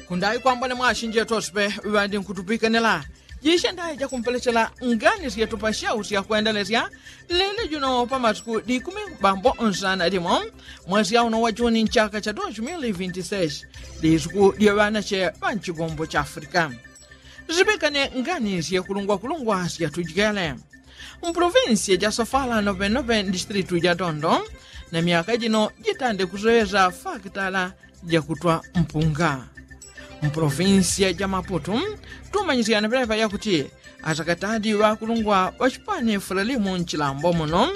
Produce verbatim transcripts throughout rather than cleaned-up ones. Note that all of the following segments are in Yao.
Kundayi kwambone mwashinjetu osipe ŵandi nkutupikanila jishe ndayi jakumpelechela ngani syetu pashausya kwendelesya lelo juno pamasiku dikumi bambo nsana limo mwesi auno wa juni nchaka cha dos mil vinti seis. Disuku dya ŵanache ŵa nchigombo cha afrika. Sipikane ngani syekulungwa kulungwa syatujikele mpolovinsiya ja sofala novenove ndisitilitu ja dondo na myaka jino jitande kusewesa fakitala jakutwa mpunga. Mpolovinsiya ja maputu tumanyisyane pelepa yakuti asakatadi ŵakulungwa ŵachipani fulalimu nchilambo muno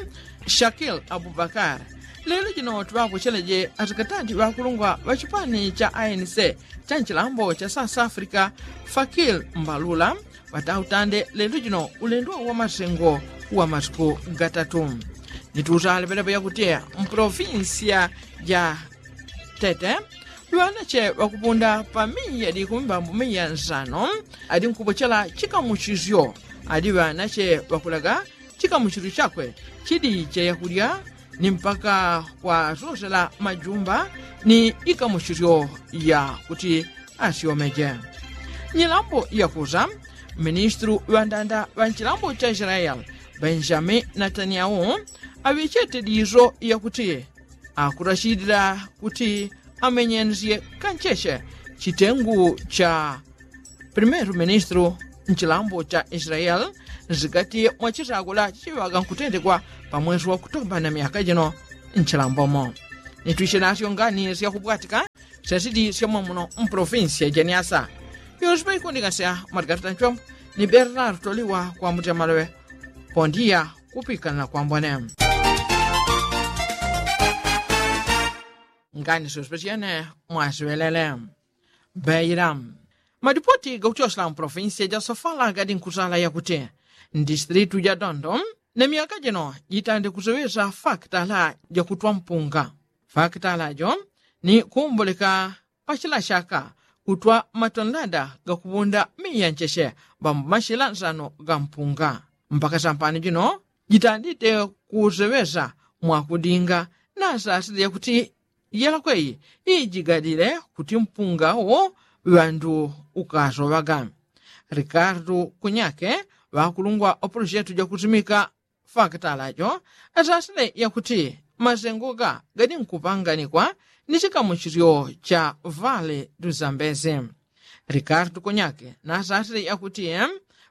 shakil abubakar lelo jino tuŵapocheleje asakatadi ŵakulungwa ŵachipani cha anc cha nchilambo cha south africa fakil mbalula ŵatautande lelo jino ulendo wa masengo wa masiku gatatu. Nituusa alepelepo yakuti mpolovinsiya ja tete ŵanache ŵakupunda pa miya dikumi mbambu miya nsano adi nkupochela chikamuchisyo adi ŵanache ŵakulaga chikamuchisyo chakwe chidi cha yakulya ni mpaka kwasosela majumba ni ikamuchisyo ya kuti asyomeje. Nyilambo yakusa ministulu ŵandanda ŵa nchilambo cha israeli benjamini natanyahu aŵechete diso yakuti akurashilila kuti amenyensye kancheche chitengu cha primeru ministulu nchilambo cha israeli nzigati mwachisakula chichiŵaga nkutendekwa pamwesi wa kutomba na myaka jino nchilambomo. Nitwishe nasyo ngani syakubwatika syasidi syamwamuno mpolovinsiya janiasa. Yosipa ikundikasya mwatikatata nchombo ni bernardo liwa kwambuti amaloŵe. Pondiya kupikanila kwambone ngani syosipa syene mwasiŵelele. Beila madipoti gakuchosela mpolovinsiya ja sofala gadi nkusala yakuti ndisitilitu ja dondo na myaka jino jitande kuseŵesa fakitala jakutwa mpunga. Fakitala jo ni kuumboleka pachila chaka kutwa matondanda gakuŵunda miya ncheche ŵambo machila nsano ga mpunga. Mpaka sampano jino jitandite kuseŵesa mwakudinga nasasile yakuti yelakweyi ijigadile kuti mpunga wo ŵandu ukasoŵaga. Rikardu kunyake ŵakulungwa opolojetu jakusimika fakitala jo asasile yakuti masengo ga gadi nkupanganikwa ni chikamuchisyo cha vale duzambezi. Rikardu kunyake nasasile yakuti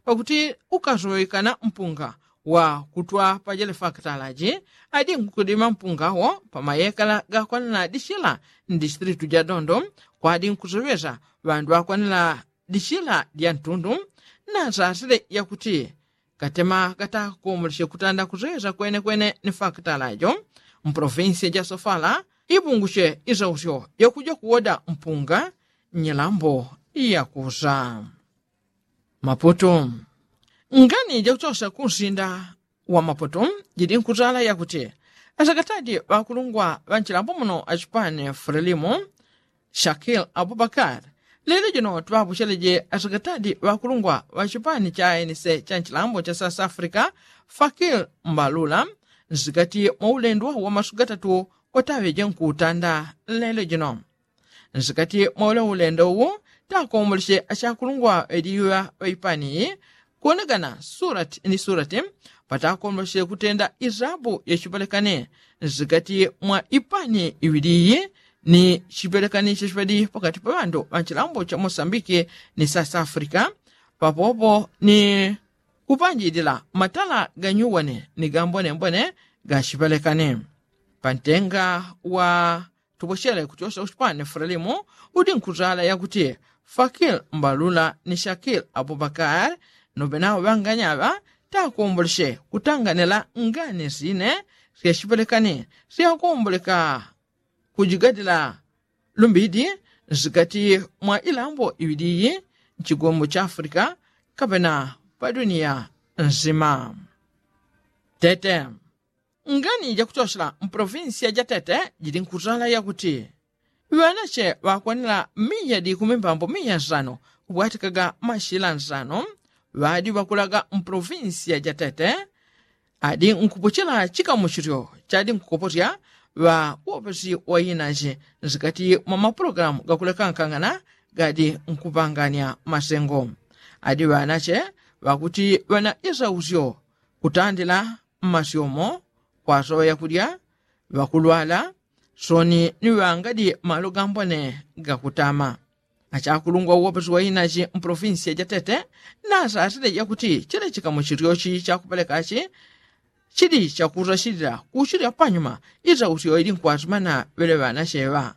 pakuti ukasoŵekana mpunga wa kutwa pajele fakitala ji adi nkudima mpunga wo pamayekala gakwanila dichila ndisitilitu ja dondo kwadi nkuseŵesa ŵandu ŵakwanila dichila dya ntundu. Nasasile yakuti katema katakomoleshe kutanda kuseŵesa kwenekwene ni fakitala jo mpolovinsiya ja sofala ipungushe isausyo yakuja kuwoda mpunga nyilambo yakusa. Maputu ngani jakuchosela kunsinda wa maputu jidi nkusala yakuti asakatadi ŵakulungwa ŵa nchilambo muno achipani fulalimu shakil abubakar lelo jino tuŵapocheleje asakatadi ŵakulungwa ŵa chipani cha anc cha nchilambo cha south africa fakil mbalula nsikati mwa ulendo wa masiku gatatu wataŵeje nkutanda lelo jino. Nsikati mwa ule ulendo uwu takomoleshe achakulungwa ŵadiŵa ŵaipani kuwonekana surati ni surati patakomoleshe kutenda isabu ya chipelekani nsikati mwa ipani iŵiliyi ni chipelekani chachiŵadi pakati pa ŵandu ŵa nchilambo cha mosambiki ni south africa papopo ni kupanjilila matala ganyuwani ni gambonembone ga chipelekani. Pantenga wa tupochele kuchosela kuchipani fulalimu udi nkutala yakuti fakil mbalula ni shakil abubakar nobe nawo ŵanganyaŵa takomboleshe kutanganila ngani sine syachipelekani syakomboleka kujigadila lumbidi nsikati mwa ilambo iŵiliyi nchigombo cha afrika kapena pa duniya nsima. Tete ngani jakuchosela mpolovinsiya ja tete jili nkutala yakuti ŵanache ŵakwanila miya dikumi mbambo miya nsano kubwatikaga mashila nsano ŵadi ŵakulaga mpolovinsiya ja tete adi nkupochela chikamuchilyo chadi nkukoposya ŵa uwopesi wa inache nsikati mwa mapulogalamu gakulekankangana gadi nkupanganya masengo. Adi ŵanache ŵakuti ŵana isausyo kutandila mmasyomo kwasoŵa yakudya, ŵakulwala soni ni ŵangadi malo gambone gakutama. Achakulungwa uwopesi wa inachi mpolofinsiya jatete nasasile yakuti chile chikamuchilyochi chakupelekachi chili chakusasilila kuchilya panyuma isausyo ili nkwasumana ŵele ŵanache ŵa.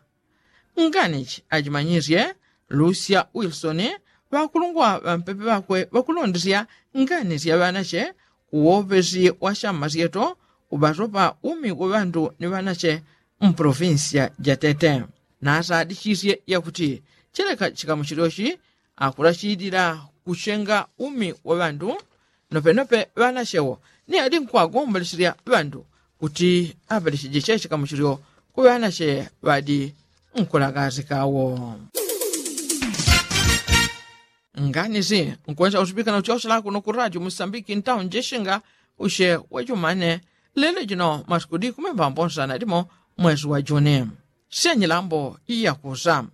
Nganichi achimanyisye lucia wilsoni ŵakulungwa ŵampepe ŵakwe ŵakulondesya nganisya ŵanache kuwopesi wa chammasyeto kuŵasopa umi wa ŵandu ni ŵanache mpolofinsiya jatete. Nasadichisye yakuti chileka chikamuchilyochi akulachilila kuchenga umi wa ŵandu nopenope ŵanachewo ni adi nkwagomboleselya ŵandu kuti aŵalechije chechikamuchilyo ku ŵanache ŵadi nkulagazikawo. Nganisi nkwesa usipika na uchochela kuno ku radio musambiki ntawo njeshinga ushe wachumane lelo jino masiku dikumi mbambo nsana dimo mwesi wa juni. Syenyilambo iyakusa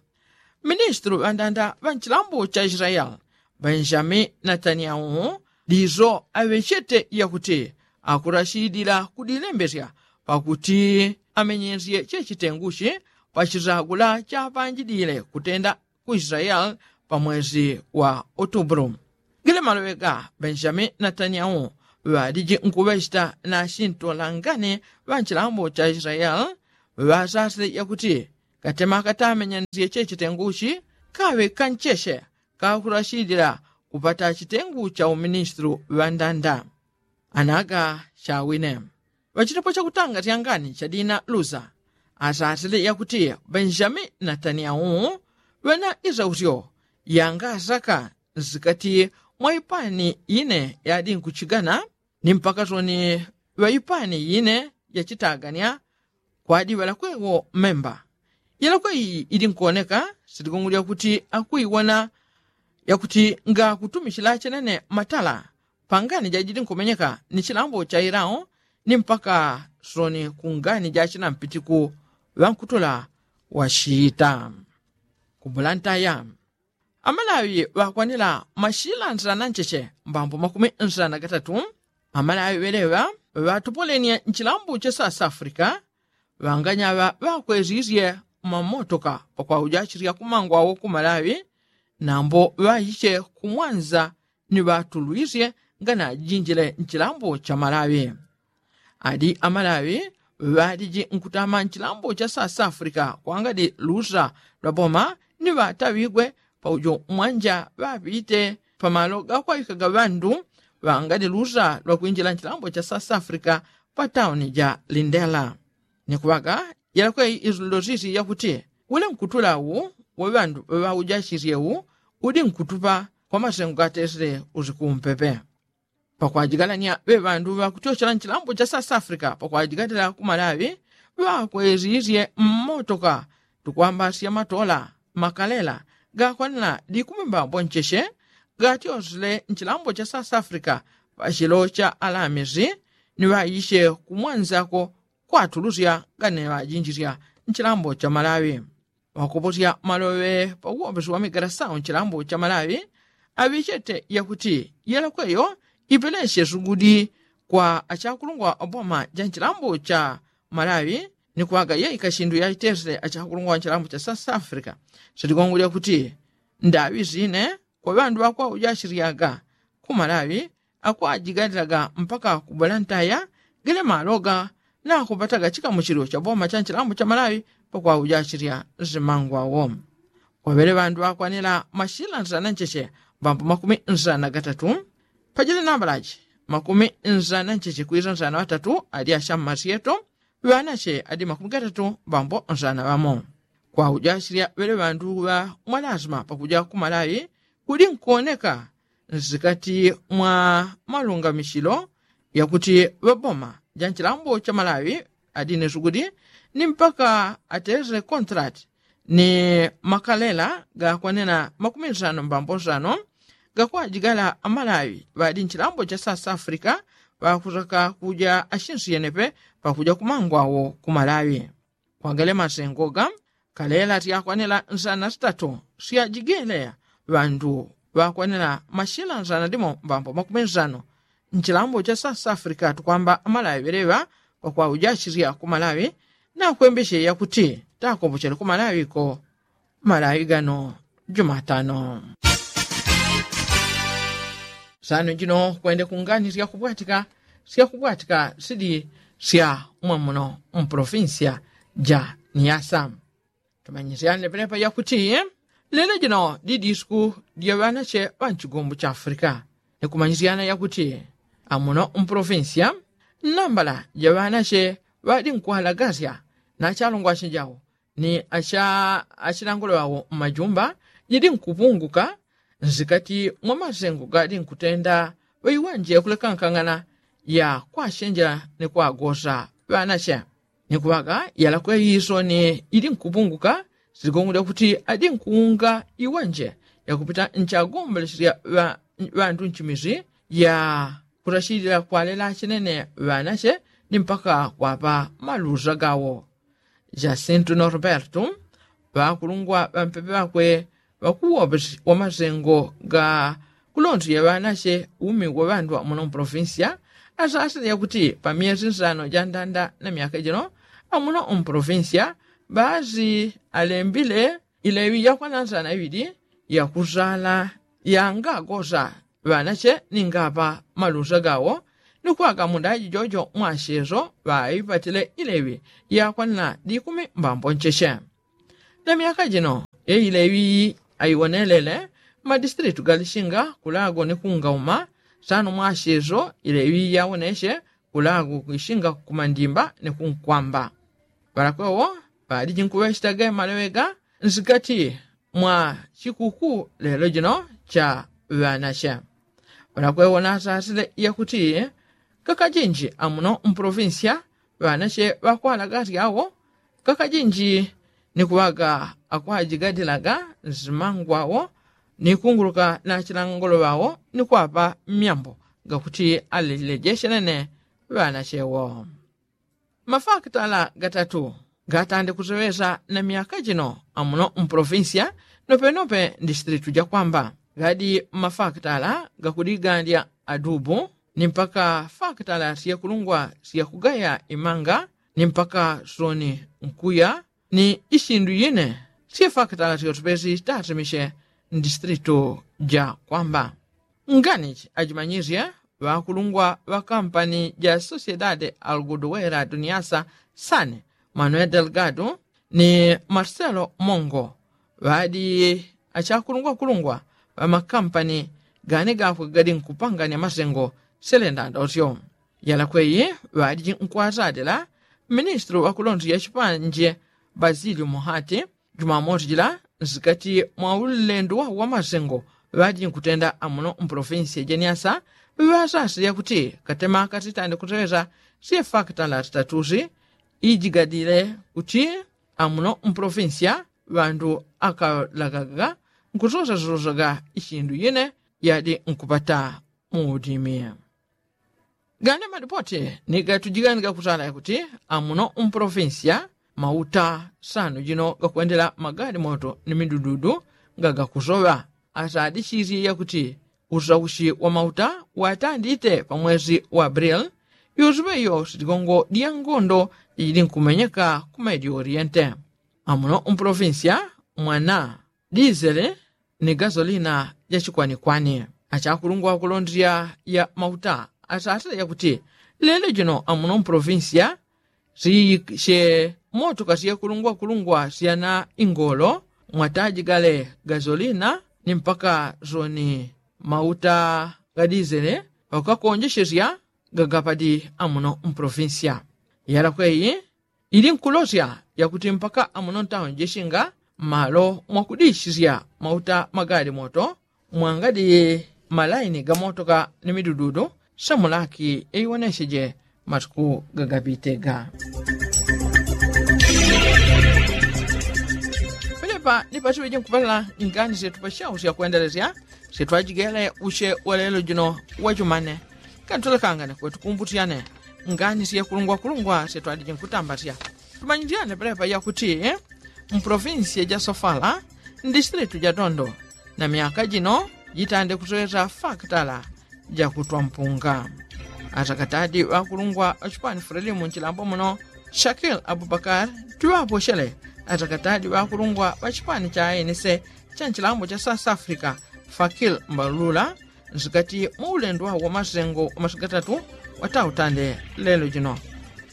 ministulu ŵandanda ŵa nchilambo cha israeli benjamini natanyahu diso aŵechete yakuti akurashidila kudilembesya pakuti amenyesye chechitenguchi pachisagula chapanjidile kutenda ku israeli pamwesi wa otubulu. Gile maloŵe ga benjamini natanyahu ŵaliji nkuŵecheta na chintolangane ŵa nchilambo cha israeli ŵasasile yakuti katema katamenyanisye chechitenguchi kaŵe kancheche kakurashidila kupata chitengu cha uministulu ŵandanda. Anaga chawine ŵachitepo chakutanga tyangani chadina lusa asasile yakuti benjamini natanyahu ŵena isausyo yangasaka nsikati mwa ipani ine yadi nkuchigana ni mpaka soni ŵa ipani ine yachitaganya kwadi ŵalakwewo memba. Yalakwe iyi idi nkuoneka siligungulya kuti akuiwona yakuti ngakutumichila chenene matala pangani jajidi nkumenyeka ni chilambo cha ilao ni mpaka soni kungani jachinampitiku ŵankutula washita. Kubulantaya amalawi ŵakwanila mashila nsana ncheche mbambo makumi nsana gatatu. Amalawi ŵeleŵa ŵatopolenia nchilambo cha south africa ŵanganyaŵa ŵakwezizye mamotoka pakwauja achirya kumangwawo ku malawi nambo ŵaiche kumwanza ni ŵatulwisye nganajinjile nchilambo cha malawi. Adi amalawi ŵaliji nkutama nchilambo cha south africa kwangadi lusa lwa boma ni ŵataŵigwe paujo mwanja ŵapite pamalo gakwawikaga ŵandu ŵangadi lusa lwa kwinjila nchilambo cha south africa pa tauni ja lindela. Ni kuŵaga yalakweyi isulilo sisi yakuti ule nkutula wu wa ŵandu ŵaujachisye wu udi nkutupa kwa masengo gatesile usiku umpepe. Pakwajigalanya ŵe ŵandu ŵakutyochela nchilambo cha south africa pakwajigatila ku malawi ŵakwezisye mmotoka tukwambasya matola makalela gakwanila likumi mbambo ncheche gatyosile nchilambo cha south africa pachilo cha alamisi ni ŵaisye kumwanzako kwatulusya gane ŵajinjisya nchilambo cha malawi. Ŵakoposya maloŵe pauwopeso wa migalasau nchilambo cha malawi aŵichete yakuti yelakweyo ipelesye sugudi kwa achakulungwa wa boma ja nchilambo cha malawi ni kwaga yeika shindu yaitesele achakulungwa wa nchilambo cha south africa. Sitigongo lyakuti ndaŵi sine kwa ŵandu ŵakwauja ashilyaga ku malawi akwajigalilaga mpaka kubula ntaya gile maloga nakupataga chikamuchilo cha boma cha nchilambo cha malawi pakwauja ashilya simangwawo. Kwaŵele ŵandu ŵakwanila mashila nsana ncheche mbambo makumi nsana gatatu pajili nambalaji makumi nsana ncheche kwisa nsana ŵatatu ali ashammasyeto ŵanache adi makumi gatatu mbambo nsana ŵamo. Kwauja ashilya ŵele ŵandu ŵa mwalasima pakuja ku malawi kudi nkuoneka nsikati mwa malungamichilo yakuti ŵaboma ja nchilambo cha malawi adine sukudi ni mpaka atesele kontrati ni makalela gakwanena makumi nsano mbambo nsano gakwajigala amalawi ŵadi nchilambo cha south africa ŵakusaka kuja ashinsi yenepe pakuja kumangwawo ku malawi. Kwagale masengoga Kalela tyakwanila nsana sitatu syajigele ŵandu ŵakwanila mashila nsana dimo mbambo makumi nsano. Nchilambo cha south africa tukwamba amalawi ŵeleŵa pakwauja chilya ku malawi nakwembeshe yakuti takombochele ku malawi ko. Malawi gano jumatano. Sano jino kwende kungani syakubwatika syakubwatika sidi sya mwamuno mpolofinsiya ja niyasa. Tumanyisyane pelepa yakuti lelo jino didi isuku dya ŵanache ŵanchigombo cha afrika. Nikumanyisyana yakuti amuno mpolofinsiya nambala ja ŵanache ŵadi nkwalagasya na chalungwasya jawo ni achilangulo ŵawo mmajumba jidi nkupunguka. Nsikati mwa masengo gadi nkutenda ŵaiwanje kulekankang'ana ya kwachenjela ni kwagosa ŵanache. Ni kuŵaga yalakwe isoni ili nkupunguka. Sigongo lyakuti adi nkuunga iwanje yakupita nchagomboleche lya ŵandu nchimisi ya kutachilila kwalela chinene ŵanache ni mpaka kwapa malusa gawo. Jacinto norberto ŵakulungwa ŵampepe ŵakwe ŵakuwope wa masengo ga kulonsi ya ŵanache umi wa ŵandu amuno mpolofinsiya asasile yakuti pa myesi nsano ja ndanda na myaka jino amuno mpolofinsiya ŵasi alembile ileŵi yakwana nsana iŵili yakusala yangagosa ŵanache ningapa malusa gawo. Ni kwaka mundaji jojo mwacheso ŵaipatile ileŵi yakwanila dikumi mbambo ncheche. Na myaka jino yeileŵi aiwonelele mmadisitilitu galishinga kulago ni kungauma. Sano mwacheso ileŵi yawoneche kulago kwishinga kumandimba ni kunkwamba. Ŵalakwewo ŵaliji nkuŵechita ge malewega nsikati mwa chikuku lelo jino cha ŵanache. Ŵalakwewo nasasile yakuti kakajinji amuno mpolofinsiya ŵanache ŵakwalagasya awo kakajinji ni kuŵaga akwajigadilaga nsimangwawo ni kunguluka na chilangulo ŵawo ni kwapa myambo gakuti alejeche nene ŵanachewo. Mafakitala gatatu gatande kuseŵesa na myaka jino amuno mpolofinsiya nopenope ndisitilitu jakwamba gadi mafakitala gakudigandya adubu ni mpaka fakitala syekulungwa syakugaya imanga ni mpaka soni nkuya ni isindu yine. Syefakitala syotupesi tasimishe ndisitilitu jakwamba nganichi ajimanyisye ŵakulungwa ŵa kampani ja sociedade alguduwera duniasa sane manuel delgado ni marcelo mongo ŵadi achakulungwakulungwa ŵa makampani gani gakwe gadi nkupanganya masengo. Selenda ndosyo yalakweyi ŵadi nkwazadila ministili ŵakulonsi ya chipanje basilio muhati jumamosi jila nsikati mwa ulendo wawo wa masengo ŵadi nkutenda amuno mpolofinsiya ja niasa ŵasasile yakuti katema kasitande kusewesa syefakitala sitatusi ijigadile kuti amuno mpolofinsiya ŵandu akalagaga nkusosasosaga isindu yine yadi nkupata muudimi. Gane madipoti ni gatujiganiga kusala yakuti amuno mpolofinsiya mauta sano jino gakwendela magadi moto ni midududu gagakusoŵa. Asadisisye yakuti usausi wa mauta watandite pa mwesi wa abril. Yosuŵe iyo sitigongo dya ngondo jijili nkumenyeka ku medio oriente. Amuno mpolofinsiya mwana disele ni gasolina jachikwanikwani. Achakulungwa kulondya ya mauta asasile yakuti lelo jino amuno mpolofinsiya siyikishe motoka syekulungwakulungwa syana ingolo mwatajigale gasolina ni mpaka soni mauta gadisele pakukakonjeshesya gagapadi amuno mpolofinsiya. Yalakweyi ili nkulosya yakuti mpaka amuno ntauni jeshinga mmalo mwakudishisya mauta magali moto mwangadi malaini gamotoka ni midududu. Samulaki yaiwoneseje matuku gagapitega. Pelepa ni pasiŵeje nkupalala ngani syetupashau syakwendelesya syetwajigele usye walelo jino wajumane. Kantulekangane kwetukumbutyane ngani syekulungwakulungwa syetwaliji nkutambasya. Tumanyityane pelepa yakuti mpolofinsiya ja sofala, mdistritu ja dondo, na myaka jino jitande kusowesa fakitala jakutwa mpunga. Atakatadi ŵakulungwa ŵachipani fulelimu nchilambo muno, shakil abubakar, tuŵaposhele atakatadi ŵakulungwa ŵachipani cha ayenese cha nchilambo cha south africa, fakil mbalula, nsikati mwaulendo wawo wamasengo wamasiku gatatu watautande lelo jino.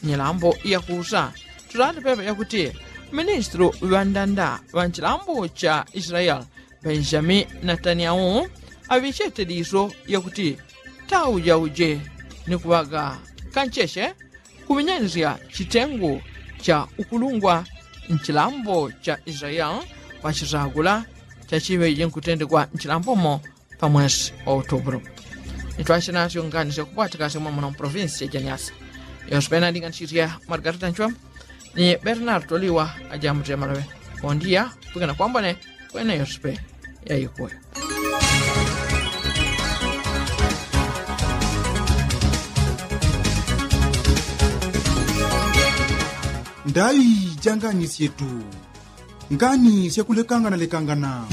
Nyilambo yakusa tutali pepe yakuti ministru ŵandanda ŵanchilambo cha israel, benjamini nataniyahu, aŵichete diso yakuti taujauje ni kuŵaga kancheche kuŵinyanisya chitengu cha ukulungwa nchilambo cha israel, pachisagula chachiŵeje nkutendekwa nchilambomo pamwesi wa utubulu. Nitwasye nasyo ngani syakupwatikasya mwamuno mpolofinsiya ja nyasa. Yonse pena ndinganisisya margarita nchwembo ni bernardo liwa ajamutile maloŵe. Kondiya kupikana kwambone kwene yonse pe yaikuwe. Ndai ja ngani syetu. Ngani syakulekangana lekangana.